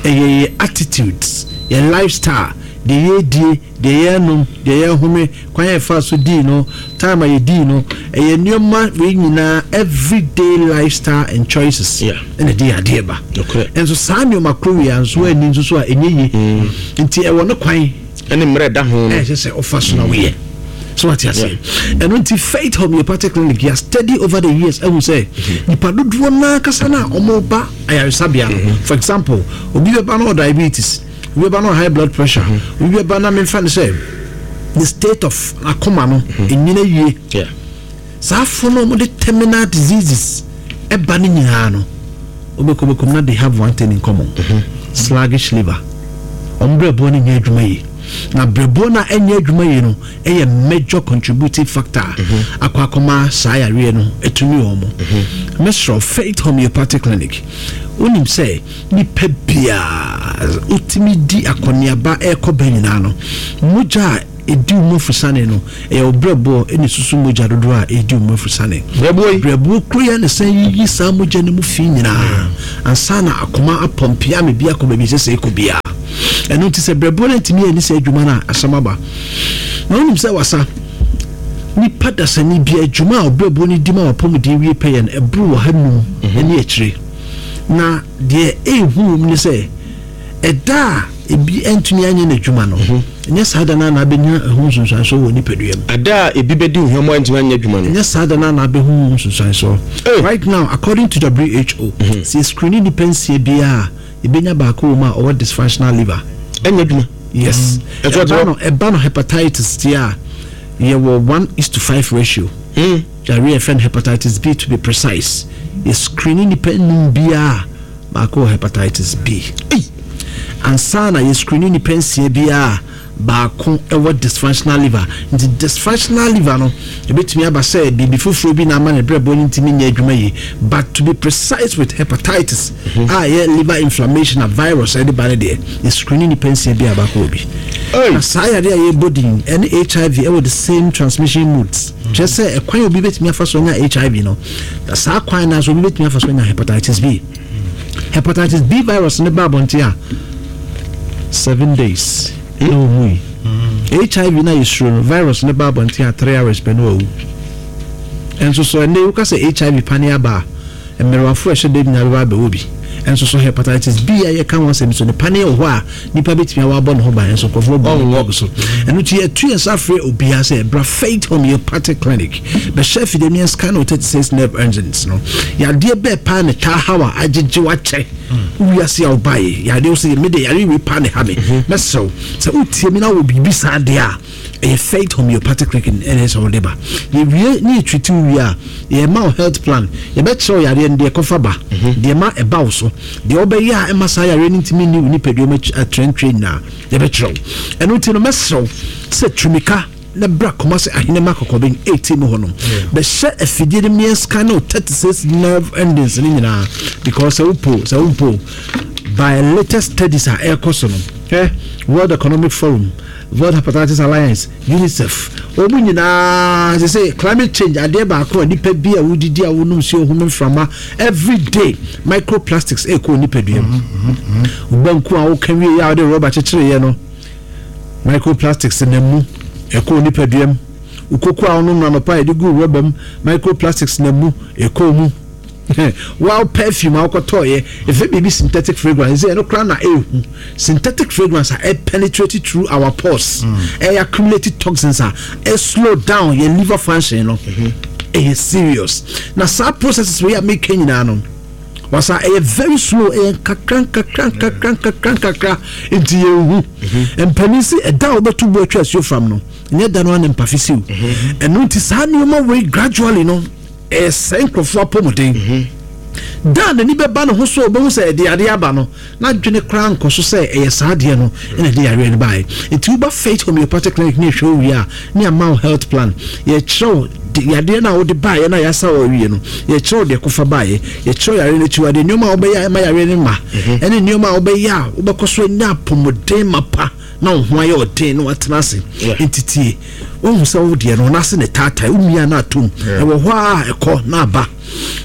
Ɛyɛ yɛ attitudes, yɛ lifestyle, deɛ yɛdie, deɛ yɛnom, deɛ yɛhome, kwan yɛ fa so dii no, time a yɛdii no, ɛyɛ nneɛma wei nyinaa everyday lifestyle and choices ɛna ɛde yadeɛ ba. Ɛnso saa nneɛma koro wei anso ani nso so a ɛnyɛ yie. Nti ɛwɔ ne kwan ɛne mmerɛ da ho no ɛsɛ sɛ ɔfa so na woyɛ. So what you say? And until Faith Homeopathic Clinic, you study over the years, I will say, nipa dodoɔ naa kasa na ɔmo ba ayaresabea no. For example, obi bɛba na diabetes, obi bɛba na high blood pressure, obi bɛba na memfa no sɛ the state of akoma no enyina yie. Saa afo no ɔmo de terminal diseases ɛba ne nyinaa no, obɛkɔ bɛkɔ na they have one thing in common: sluggish liver. Ɔmo brɛboɔ no nyɛ adwuma yie. Na brɛboɔ no a ɛnyɛ adwuma yie no ɛyɛ major contributing factor akɔ akɔma saa yareɛ no ɛtumi wɔn mo. Mesrɛ Faith Homeopathic Clinic, wonim sɛ nipa biara wotumi di akɔneaba ɛrekɔ ba nyinaa no, mogya a ɛdi wo mu afusane no, ɛyɛ wo brɛboɔ ɛne susu mogya dodoɔ a ɛdi wo mu afusane. Brɛboɔ kuro yɛ ne sɛn yiyi saa mogya no mu fi nyinaa ansa na akoma apɔmpea me bi akɔ baabi sɛ sɛ ɛkɔ biara. Ɛno nti sɛ brɛboɔ no ntumi ani sɛ adwuma no a, asɛm aba. Na wonim sɛ wasa nipa dasani bi adwuma a ɔbrɛboɔ no di ma wapɔmuden wie pɛyɛ no ɛboro wɔ ha num ɛne akyire. Na deɛ ɛhu wɔ mu ne sɛ ɛda a ebi ntumi anyɛ n'adwuma no, ɛnyɛ saa da no na abɛnya ɛho nsonsansoɔ wɔ nipadua mu. Ada a ebi bɛdi ohwam a ntumi anyɛ adwuma no, ɛnyɛ saa da no na abɛhu ho nsonsansoɔ. Right now, according to W H O, sɛ screening nipa nsia biara, ebɛnya baako wɔ mu a ɔwɔ dysfunctional liver. Ɛnyɛ adwuma. Yes. Ɛba no ɛba no hepatitis ti a yɛwɔ one is to five ratio. Yàrá yɛfrɛ no hepatitis B to be precise. Yɛ screening nipa num biara baako wɔ hepatitis B. Ansa na yɛ screening nipa nsia biara baako ɛwɔ dysfunctional liver. Nti dysfunctional liver no ebetumi aba sɛ biribi foforɔ bi na ama ne brɛboɔ no ntumi nyɛ adwuma yie, but to be precise with hepatitis a yɛ liver inflammation a virus ɛde ba ne deɛ, yɛ screening nipa nsia biara baako wɔ bi. Na saa yare a yɛbɔ din ɛne H I V ɛwɔ the same transmission modes. Kyerɛ sɛ ɛkwan obi betumi afa so anya H I V no, na saa kwan na so obi betumi afa so anya hepatitis B. Hepatitis B virus ne ba abɔnten a seven days na owu yi. H I V na yɛsuro no, virus ne ba abɔnten a three hours pɛ na wawu. Ɛnso so ɛnɛ woka sɛ H I V pane aba a, mmerɛwafo a ɛhyɛ dɛm nyinaa bɛba abɛwɔ bi. Ɛnso so hepatitis B a yɛka ho asɛm so ne pane wɔ hɔ a nipa bɛtumi awɔ abɔ ne ho ban, ɛnso nkurɔfoɔ bɔ ne ho so. Ɛno nti yɛtu yɛn nsa afrɛ obiara sɛ bra Faith Homeopathic Clinic bɛhyɛ afidie ne scan wɔ thirty-six nerve engines no. Yadeɛ bɛɛ paa ne taa haw a agyegye wakyɛ wiase a wobaeɛ. Yadeɛ wo sɛ mede yare wei paa ne ha me. Mɛsrɛ wo sɛ wotie me na wɔ biribi saa deɛ a, ɛyɛ Faith Homeopathic Clinic ɛna ɛsɛ wode ba. Yɛwie ne yɛtwiti wo wie a, yɛma wo health plan. Yɛbɛkyerɛ wo yareɛ no deɛ ɛkɔfa ba, deɛ ma ɛba wo so, deɛ wobɛyɛ a ɛma saa yareɛ no ntumi nni wo nipadua mu atrɛntrɛ nyinaa, yɛbɛkyerɛ wo. Ɛno nti no mɛsrɛ wo sɛ tumika na bra Kumasi Ahenema Kɔkɔbɛn eighteen mu hɔ no, bɛhyɛ afidie no mmiɛnsa ne thirty-six nerve endings ne nyinaa, because sɛ wopo sɛ wompo by latest studies a ɛrekɔ so no, eh, World Economic Forum, World Hepatitis Alliance, UNICEF, wɔn nyinaa sɛ sɛ climate change adeɛ baako a nipa bi a wodidi a wonom nsuo home mframa every day microplastics ɛrekɔ nipadua mu. Banku a woka wie a wode rɔba kyekyereyɛ no, microplastics na mu ɛkɔ nipadua mu. Ukoko a wonom anɔpa yɛde gu rɔba mu, microplastics na mu ɛkɔ mu. Wow, perfume a wokɔtɔɔyɛ ɛfɛ biribi synthetic fragrance ɛsɛ ɛno koraa na ɛhu. Synthetic fragrance a ɛ penetrate through our pores, ɛ accumulate toxins a ɛ slow down your liver function no. Ɛyɛ serious. Na saa processes wei a meka nyinaa no, wasa ɛyɛ very slow, ɛyɛ nkakra nkakra nkakra nkakra nkakra nti yɛnhu. Mpanin si ɛda a wobɛto bu atwa asuo fam no, nyɛ da no a ne mpafe siw. Ɛno nti saa nneɛma wei gradually no ɛsɛ nkurɔfoɔ apɔmuden. Da n'ani bɛba ne ho so ɔbɛhu sɛ ɛde adeɛ aba no, na adwene koraa nkɔ so sɛ ɛyɛ saa adeɛ no ɛna ɛde yareɛ no baeɛ. Nti woba Faith Homeopathic Clinic ne ɛhwɛ wo wie a, ne ama wo health plan. Yɛkyerɛ wo yadeɛ no a wode baeɛ no a yɛasa wɔ awie no, yɛkyerɛ wo deɛ kɔfa baeɛ, yɛkyerɛ wo yareɛ no akyiwadeɛ, nneɛma a wobɛyɛ a ɛma yareɛ no ma, ɛne nneɛma a wobɛyɛ a wobɛkɔ so anya apɔmuden mapa na wo ho ayɛ ɔden na watena ase. Nti tie, wohu sɛ wo deɛ no ɔno ne taatae, wo mia na atom, ɛwɔ hɔ a ɛkɔ na aba.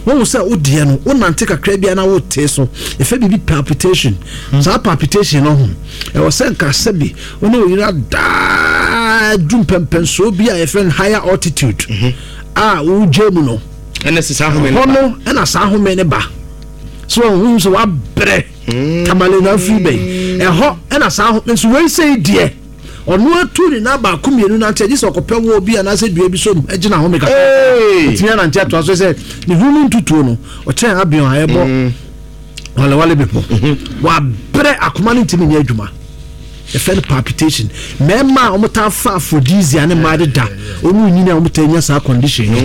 Wohu sɛ wo deɛ no wonante kakra bia na wote so, ɛfɛ biribi palpitation. Saa palpitation no ho ɛwɔ sɛ nka sɛbi wo ne wo yere adaa du mpɛmpɛnsoɔ bi a yɛfrɛ no higher altitude a wogye mu no, hɔ no ɛna saa home ne ba. So wohu sɛ wabrɛ tamale na afiri bɛyi ɛhɔ ɛna saa home nso wei sɛ deɛ ɔno atu ne nan baako mmienu nante agye sɛ ɔkɔpɛ wɔ bi anaasɛ dua bi so gyina home kakra ɔtumi anante atoa so sɛ ne ho mu ntutuo no ɔkyɛn abeɔn a ɛbɔ walewale bepɔ wabrɛ akoma no ntumi nyɛ adwuma. Ɛfɛ no palpitation. Mmarima a wɔtaa fa aphrodisia ne mmaa deda wɔn nyini a wɔtaa nya saa condition no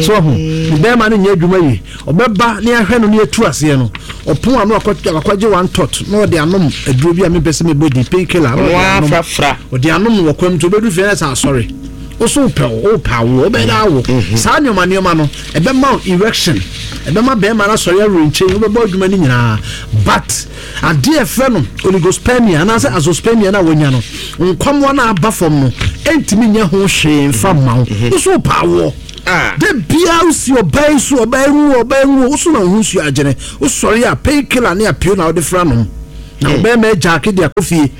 so ɔho ne bɛrima no nyɛ adwuma yi, ɔbɛba ne ahwɛ no ne atu aseɛ no, ɔpon ano akɔgye one tot na ɔde anom aduro bi a mepɛ sɛ mebɔ din painkiller na ɔde anom ɔde anom wɔ kwam nti ɔbɛdu fie na sɛ asɔre woso wopɛ wo wopɛ awo wobɛyɛ dɛ awo. Saa nneɛma nneɛma no ɛbɛma wo erection, ɛbɛma bɛrima no asɔre awerɛ nkyɛn, wobɛbɔ adwuma no nyinaa. But adeɛ ɛfrɛ no oligospermia anaasɛ azoospermia no a wɔnya no, nkwamoa no aba fam no Ɛntumi nyɛ ho hwee mfa mma wo. Wo so wopɛ awoɔ. Ah. Da biara wosi ɔbaa yi so, ɔbaa yi nwu, ɔbaa yi nwu. Wo so na wo ho nsuo agyene. Wosɔre a, painkiller ne apio na wode fra nom na ɔbɛrima agyaake de akɔ fie.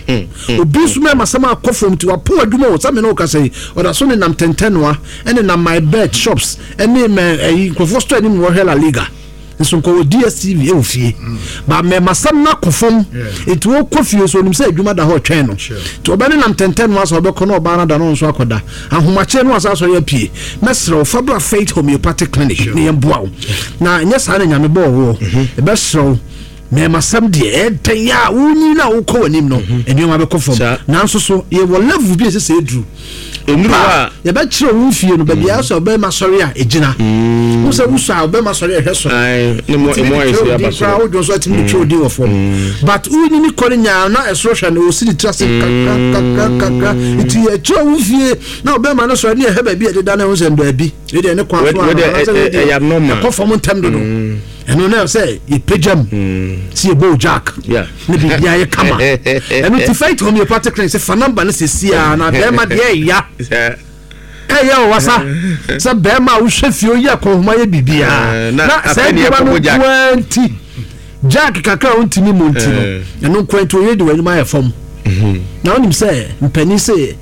Obi nso mɛma sɛm akɔ fam nti wapɔn adwuma o. Sɛ me ne wo kasa yi, ɔda so nenam tɛntɛnoa ɛne nam my bet shops ɛne mɛ ɛyi nkurɔfoɔ store anim na wɔhwɛ La Liga nso nkɔwɔ D S T V ɛwɔ fie ba. Mɛma sɛm no akɔ fam nti wɔkɔ fie so onim sɛ adwuma da hɔ ɔtwɛn no, nti ɔbɛne nam tɛntɛnoa sɛ ɔbɛkɔ na ɔbaa no da no nso akɔda ahomakyɛ no asa asɔre apue. Mɛserɛ wo, fa bra Faith Homeopathic Clinic ne yɛmboa wo, na ɛnyɛ saa na Nyame bɔɔ woɔ. Ɛbɛserɛ wo, mɛma sɛm deɛ ɛdɛn a wonyi no a wokɔ w'anim no, nneɛma bɛkɔ fam. Saa. Nanso so yɛwɔ level bi a ɛsɛ sɛ ɛduru Nnuru pa a yɛbɛkyerɛ wo fie no baabi a sɛ ɔbɛma sɔre a ɛgyina wo sɛ wosɔ a ɔbɛma sɔre a ɛhwɛ soro. Ae, ne mo Tumi emu de ayɛ twerɛ sɛ wo aba din koraa soro. wodwo nso atumi de twerɛ wo din wɔ fam, but wonyini kɔ no nyaa na ɛsoro hwɛ no ɔsi ne tiri ase kakra kakra kakra, nti yɛkyerɛ wo fie na ɔbɛma no sɔre ne yɛhwɛ baabi a ɛdeda no ɛho sɛ baabi ɛdeɛ ne kwan so Wei- wei deɛ, anaasɛ ɛ- wei ɛ- deɛ ɛyɛ abnormal. ɛkɔ fam ntɛm dodo. Ɛno na sɛ yɛpagya mu sɛ yɛbɔ wo jack Yeah. ne biribiara yɛ kama. Ɛno ti Faith Homeopathic Clinic sɛ fa number no sɛsi a na bɛrima deɛ ɛya Sɛ ɛyɛ wɔ wasa sɛ bɛrima a wohwɛ fie oyi akɔnhoma yɛ biribiara Eh, na na saa afei ne adwuma no yɛkɔbɔ jack. nkoa nti jack kakra a wontumi mu nti no, ɛno nkoa nti oyɛ de w'anim ayɛ fam. Na wonim sɛ mpanin sɛ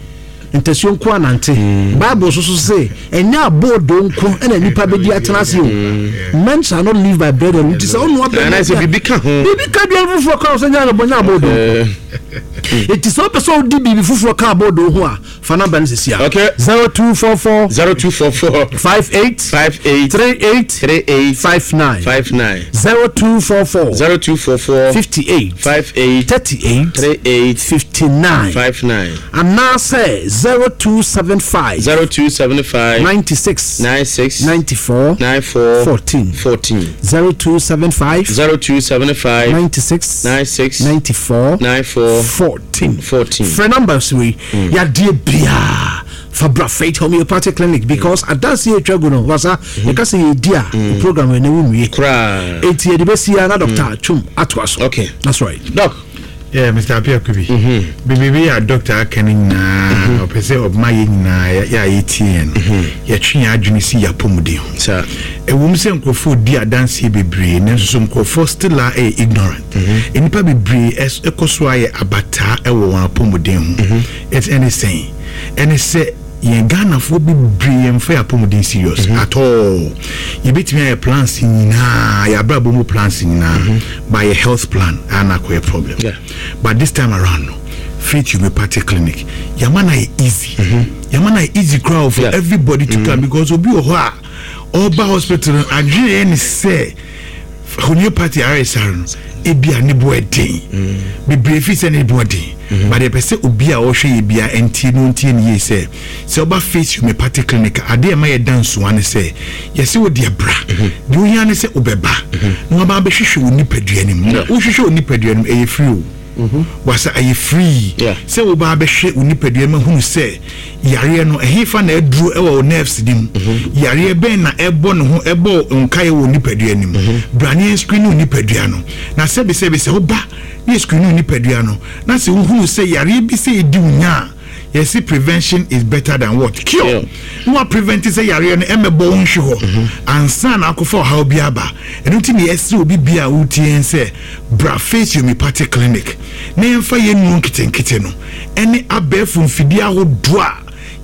ntasuo nko anante, Bible so so sɛ ɛnyɛ aboodo nko ɛna nipa bɛdi atena ase o. Men shall not live by bread alone, nti sɛ wonoa bɛrima Anaasɛ bi a- biribi ka ho. Biribi ka aduane foforɔ ka wo sɛ nyɛ anabɔ nyɛ aboodo. Eh, Eti sɛ wopɛ sɛ wodi biribi foforɔ ka aboodo ho a, fa number no sisi a. Okay. Zero two four four zero two four four five eight five eight three eight three eight five nine five nine. zero two four four zero two four four fifty-eight five eight thirty-eight three eight fifty-nine five nine. Anaasɛ zero two seven five zero two seven five ninety-six nine six ninety-four nine four fourteen. fourteen. zero two seven five zero two seven five ninety-six nine six ninety-four nine four fourteen. fourteen. Frɛ numbers wei, yadeɛ biaa fa bra Faith Homeopathic Clinic, because adanse yɛ atwa gu no wasa yɛka sɛ yɛdi a program ɛnɛ wo nwie. Koraa. Enti yɛde bɛsi a na Doctor Twum atoa so. Okay. That's right. Doc. Yeah, Mister Apia Kubi. Biribi a doctor aka no nyinaa, ɔpɛ sɛ ɔma yɛ nyinaa yɛ a yɛtie yɛn no, yɛtwe yɛn adwene si yɛ apɔmuden ho. Saa. Ɛwom sɛ nkurɔfoɔ di adanseɛ bebree, nanso so nkurɔfoɔ still a ɛyɛ ignorant. Nnipa bebree ɛs- ɛkɔ so ayɛ abataa ɛwɔ wɔn apɔmuden ho. Ɛt- ɛne sɛn? Ɛne sɛ yɛn Ghanafoɔ bebree yɛmfa yɛ apɔmuden serious at all. Yɛbɛtumi ayɛ plans nyinaa, yɛabrabɔ mu plans nyinaa, but yɛ health plan ana akɔyɛ problem. Yeah. But this time around no, Faith Homeopathic Clinic yɛama no ayɛ easy, yɛama no ayɛ easy koraa for Yeah. everybody to come, because obi wɔ hɔ a ɔba hospital no, adwene yɛ ne sɛ homeopathy ayaresa no ebi a ne bo ɛden bebree fi sɛ ne bo ɛden, but yɛpɛ sɛ obi a ɔhwɛ yɛ bia ntie no ntie ne yie sɛ sɛ ɔba Faith Homeopathic Clinic a, adeɛ ɛma yɛ da nsoa ne sɛ yɛsɛ wo deɛ bra, deɛ ohia ne sɛ wobɛba na waba abɛhwehwɛ wo nipadua no mu. Na wohwehwɛ wo nipadua no mu, ɛyɛ free o, wasa ɛyɛ free Yeah. sɛ woba abɛhwɛ wo nipadua no ahunu sɛ yareɛ no ɛhefa na ɛduro ɛwɔ wo nerves no mu, yareɛ bɛn na ɛbɔ ne ho ɛbɔ nkaeɛ wɔ wo nipadua no mu. Bra ne yɛn screen wo nipadua no, na sɛbisɛbi sɛ woba ne yɛ screen wo nipadua no na sɛ wohunu sɛ yareɛ bi sɛ ɛdi wo nya a, yɛsi prevention is better than what? Cure. Yeah. Na wa prevent sɛ yareɛ no ɛmɛbɔ wo nhwe hɔ ansa na akɔfa ɔhaw bi aba. Ɛno nti ne yɛsrɛ obi bia a wotie yɛn sɛ bra Faith Homeopathic Clinic na yɛmfa yɛn nnuro nketenkete no ɛne abɛɛfo mfidie ahodoɔ a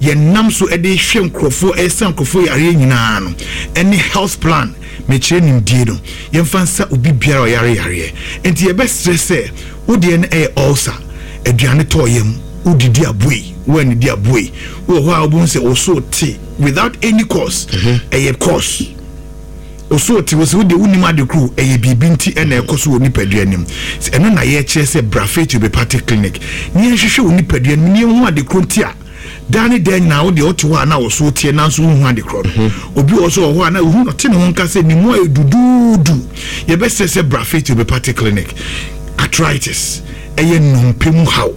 yɛnam so ɛde hwɛ nkurɔfoɔ, ɛsa nkurɔfoɔ yareɛ nyinaa no, ɛne health plan mekyerɛ nimdie no, yɛmfa nsa obi biara a ɔyare yareɛ. Nti yɛbɛsrɛ sɛ wodeɛ no ɛyɛ ulcer, aduane tɔɔ yam, wodidi aboe, woanidi aboe, wowɔ hɔ a wobɛhu sɛ wo so te without any cause, ɛyɛ cause ɔso te wɔ sɛ wode wonim ade koro ɛyɛ biribi nti ɛna ɛkɔ so wɔ nipadua anim. Ɛno na yɛkyerɛ sɛ bra Faith Homeopathic Clinic ne yɛnhwehwɛ wɔ nipadua no ne yɛhu ade koro nti a daa ne daa nyinaa wodeɛ wote hɔ a na wɔ so teɛ nanso wohu ade korɔ no. Obi wɔ so wɔ hɔ a na wohu ɔte ne ho nka sɛ ne mu ayɛ duduudu, yɛbɛsɛ sɛ bra Faith Homeopathic Clinic. Arthritis, ɛyɛ nnompe mu haw,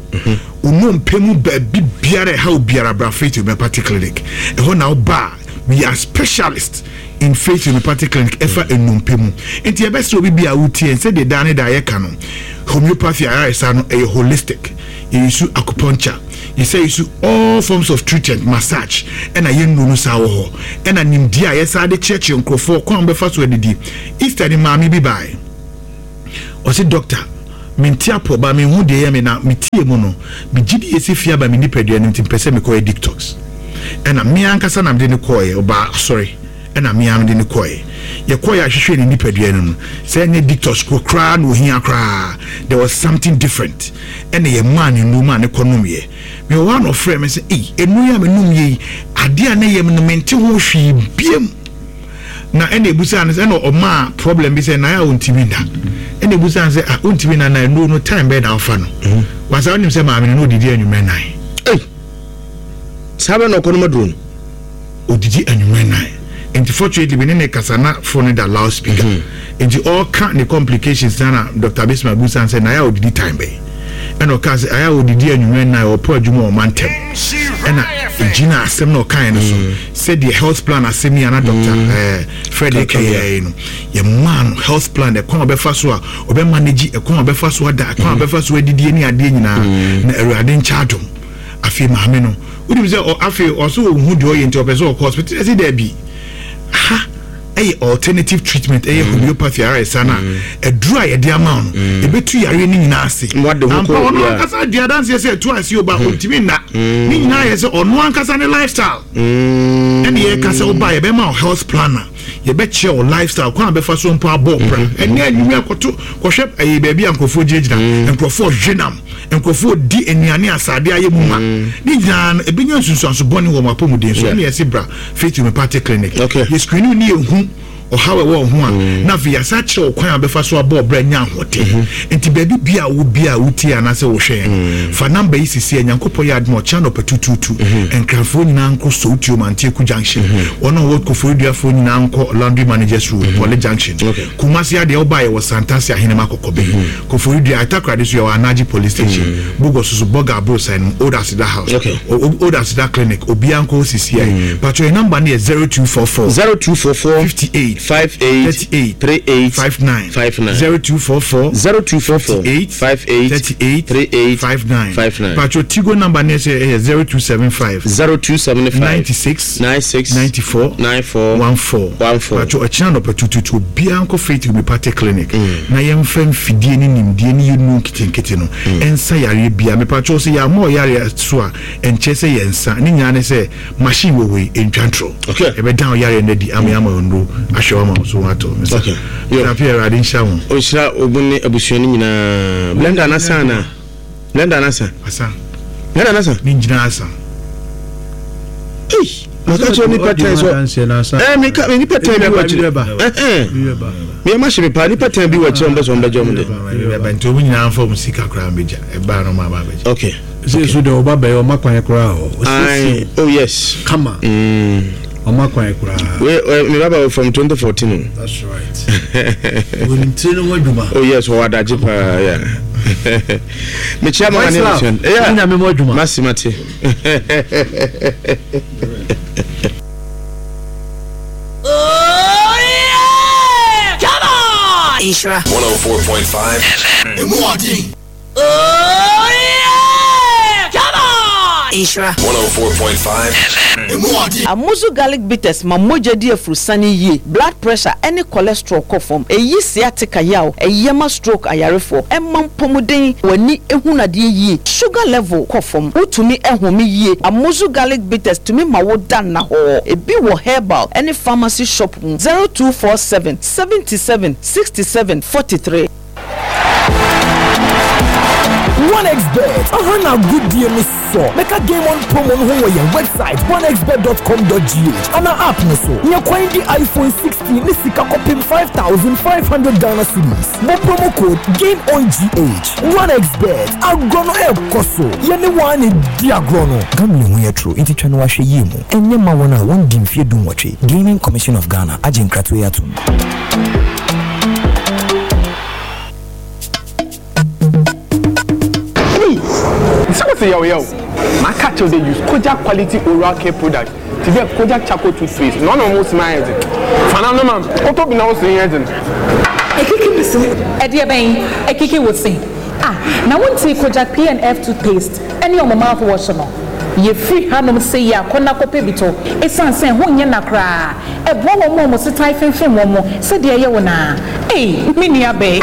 onompe mu baabi biara ɛhaw biara, bra Faith Homeopathic Clinic. Ɛhɔ na woba a, we are specialist in Faith Homeopathic Clinic ɛfa nnompe mu. Nti yɛbɛsɛ obi bi a wotie sɛdeɛ daa ne daa yɛka no, homeopathy ayaresa no ɛyɛ holistic. Yɛ use acupuncture, yɛsɛ use all forms of treatment, massage, ɛna yɛn nnuro no saa wɔ hɔ, ɛna nimdeɛ a yɛsa de kyerɛkyerɛ nkurɔfoɔ kwan a wɔbɛfa so adidi. Easter ni maame bi bae, ɔsi, "Doctor, mente apɔ ba, menhu deɛ ɛyɛ me na metie mu no, megye di yɛsi fie aba me nipadua no nti mpɛ sɛ mekɔyɛ detox." Ɛna me ankasa na mede ne kɔɔɛ. Ɔbaa asɔre ɛna me mede ne kɔɔɛ. Yɛkɔɔɛ ahwehwɛ ne nipadua no no sɛ ɛnyɛ detox koraa na ohia koraa, there was something different. Ɛna yɛmaa ne nnuro maa ne kɔ nomyɛ. Mewɔ hɔ a na ɔfrɛ me sɛ, "Ei, nnuro yi a menom yɛ yi, adeɛ a na ɛyɛ me no, mente ho hwee biem." Na ɛna ebusa no sɛ, ɛna ɔmaa problem bi sɛ na ayɛ a ɔntumi nda. Ɛna ebusa no sɛ, "Ah, ɔntumi nda na nnuro no time bɛyɛ na ɔfa no?" Wasa ɔnim sɛ maame no na odidi anwummerɛ nan. Saa bɛ na ɔkɔ no maduro no. Odidi anwummerɛ nan, nti fortunately me ne ne kasa na phone no da loud speaker, nti ɔka ne complications na na Doctor Bismarck busa no sɛ na ayɛ a odidi time bɛyɛ, ɛna ɔka sɛ ayɛ a odidi anwummerɛ nan, ɔpɔ adwuma ɔma ntɛm. Ɛna egyina asɛm na ɔkaeɛ no so sɛdeɛ health plan asɛm yi ana Doctor ɛɛ Fred kɛyɛ no, yɛmaa no health plan, ɛkwan a ɔbɛfa so a ɔbɛ manage, ɛkwan a ɔbɛfa so ada, ɛkwan a ɔbɛfa so adidie ne adeɛ nyinaa. Na Awurade nkyɛ adom, afei maame no, wonim sɛ ɔ- afei ɔso ɔhu deɛ ɔyɛ, nti ɔpɛ sɛ ɔkɔ hospital. Ɛsɛ daabi, ha ɛyɛ alternative treatment, ɛyɛ homeopathy ara ɛsa no a ɛduru a yɛde ama wo no ɛbɛtu yareɛ no nyinaa ase. Wade ho ampa kɔ- ɔno yeah. ankasa dua adanseɛ sɛ ɛtu ase o ba ɔntumi nna. Ne nyinaa yɛ sɛ ɔno ankasa ne lifestyle. Ɛne yɛka sɛ woba, yɛbɛma wo health planner, yɛbɛkyerɛ wo lifestyle kwan a bɛfa so mpo abɔ bra. Ɛne anwummerɛ kɔto kɔhwɛ ɛyɛ baabi a nkurɔfoɔ gyinagyina, nkurɔfoɔ hwe nam, nkurɔfoɔ di nnuane asade ayɛ mu ma ne nyinaa no ɛbɛnya nsunsuanso bɔne wɔ mo apɔmuden so. Ɛne yɛse bra Faith Homeopathic Clinic. Okay. Yɛ screen ne yɛhu ɔhaw ɛwɔ wo ho a, na afei yɛasa kyerɛ wo kwan a bɛfa so abɔ ɔbrɛ nya ahoɔden. Nti baabi bia a wo bia a wotie anaasɛ wohwɛ yɛn, fa number yi sisi a Nyankopɔn yɛ adom a, ɔkyena nɔpɛ tutuutu, Nkranfoɔ nyinaa nkɔ Sowutuom Antieku Junction, wɔn a wɔwɔ Koforidua nyinaa nkɔ Laundry Managers Road, Poly Junction. Okay. Kumasi adeɛ, woba, yɛwɔ Santase Ahenema Kɔkɔbɛ. Koforidua Atakoradi so yɛwɔ Anagye Police Station. Bogos so, Bɔga Aborosan no, Old Aseda House. Okay. O- O- old Aseda Clinic, obiara nkɔ hɔ sisi ayi. Patro, yɛ number no yɛ zero two four four zero two four four fifty-eight five eight thirty-eight three eight fifty-nine five nine. zero two four four zero two four four fifty-eight five eight thirty-eight three eight fifty-nine five nine. Patro, Tigo number no yɛ ɛyɛ zero two seven five zero two seven five ninety-six nine six ninety-four nine four fourteen. one four. Patro, ɔkyena nɔpɛ tututu, obiara nkɔ Faith Homeopathic Clinic na yɛmfa mfidie ne nimdeɛ ne yɛnu nketenkete no ɛnsa yareɛ bia. Mepatro, sɛ yɛama ɔyareɛ so a, ɛnkyerɛ sɛ yɛnsa ne nyinaa ne sɛ machine wɔ hɔ yi ɛntwa ntorɔ. Okay. Ɛbɛdan ɔyareɛ no adi ama yɛama ɔnuro ahwɛ wama wo so watɔ. Okay. Yo. Tapi, Awurade nhyira wo. Ɔnhyira ogun ne abusua no nyinaa. Blender anasa ana blender anasa? Asa. Blender anasa. Ne nyinaa asa. Ei, maka kyerɛ nipa tɛn so ɛɛ meka nipa tɛn bi wɔ akyire ɛhɛn meyɛ ma hyɛ me paa, nipa tɛn bi wɔ akyire, ɔmo bɛ sɛ ɔmo bɛgye ɔmo de. Ɛbɛ nti ɔmo nyinaa mfa ɔmo sika koraa mbɛgya, ɛbaa no ɔmo aba abɛgya. Okay. Sɛ so deɛ ɔba bɛyɛ ɔma kwan koraa o. Aye, oh yes. Kama. Mm. Ɔma kwan koraa. We uh, me baba from twenty fourteen o. That's right, wɔnim tiri no ho adwuma. Oh yes, ɔwɔ adagye paa, yeah. Mekyia mama ne abusua no. Yeah. Nyame mu adwuma. Masi mate. Oh yeah! Come on! Nhyira one oh four point five F M. Oh yeah! Come on! Nhyira one oh four point five F M. Amuzu Garlic Bitters ma mogya di afurusane yie, blood pressure ɛne cholesterol kɔ fam, ɛyi sciatica yaw, ɛyɛ ma stroke ayarefoɔ, ɛma mpɔmuden, w'ani ehunadeɛ yie, sugar level kɔ fam, wotumi ɛhome yie. Amuzu Garlic Bitters tumi ma wo da nna hɔ. Ebi wɔ herbal ɛne pharmacy shop mu. zero two four seven seventy-seven sixty-seven forty-three. one x Bet aha na agodie no sɔ mɛka. Game On promo no ho wɔ yɛn website one x bet dot com dot G H ana app no so. Nyɛ kwan di iPhone sixteen ne sika kɔpem five thousand five hundred Ghana cedis. Bɔ promo code GAMEONGH. one x Bet, agorɔ no ɛrekɔ so, yɛne wɔn a na di agorɔ no. Gambling ho yɛ toro, nti twa no wahwɛ yie mu. Ɛnyɛ ma wɔn a wɔndi mfeɛ dunwɔtwe. Gaming Commission of Ghana agye nkratoɔ yi atom. Sɛ wɔsɛ yɛw yɛw maka kyerɛw dɛ use Kojak quality oral care product te dɛ Kojak charcoal toothpaste na ɔna ɔmo sima ayɛ dzen fana no ma kɔtɔ bi na ɔso yɛ dzen. Ekiki mi se. Ɛdeɛ bɛn ekiki wo se? Ah, Na wontii Kojak P and F toothpaste ɛne ɔmo mouthwash no? Yɛfiri hanom sɛ yi akɔ na kɔpɛ bi tɔ, ɛsiane sɛ ho nyɛ na koraa. Ɛboa wɔn a wɔn setan femfem wɔn mo sɛdeɛ ɛyɛ wo naa. Ei, me nua bɛɛ.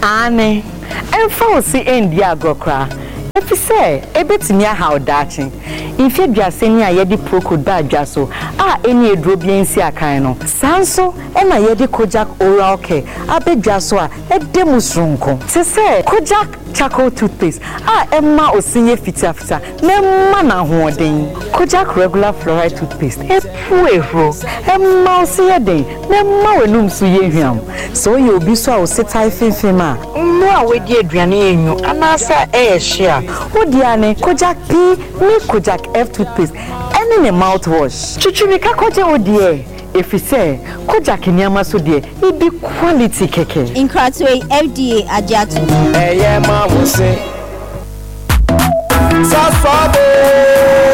Aane, ɛmfa wo se ɛndi agorɔ koraa, ɛfiri sɛ ɛbɛtumi ahaw daakye. Mfe aduasa ni a yɛde Procold baa dwa so a ɛni aduro bi nsi akan no, saa nso ɛna yɛde Kojak Oral Care abɛdwa so a ɛda mu soronko, te sɛ Kojak Charcoal Toothpaste a ɛma ose yɛ fitafita na ɛma no ahoɔden, Kojak Regular Fluoride Toothpaste epu ehuro, ɛma ose yɛ den na ɛma w'anum so yɛ hwam. Sɛ woyɛ obi so a wo se tae femfem a, mmerɛ a woadi aduane yɛ nwu anaasɛ ɛyɛ hye a, wodi a ne Kojak P ne Kojak F toothpaste ɛne ne mouthwash. Twitwirika kɔgye wo deɛ, ɛfiri sɛ Kojak nneɛma so deɛ, ebi quality kɛkɛ. Nkratoɔ yi, F D A agye ato. Ɛyɛ ma wo se sasɔbe.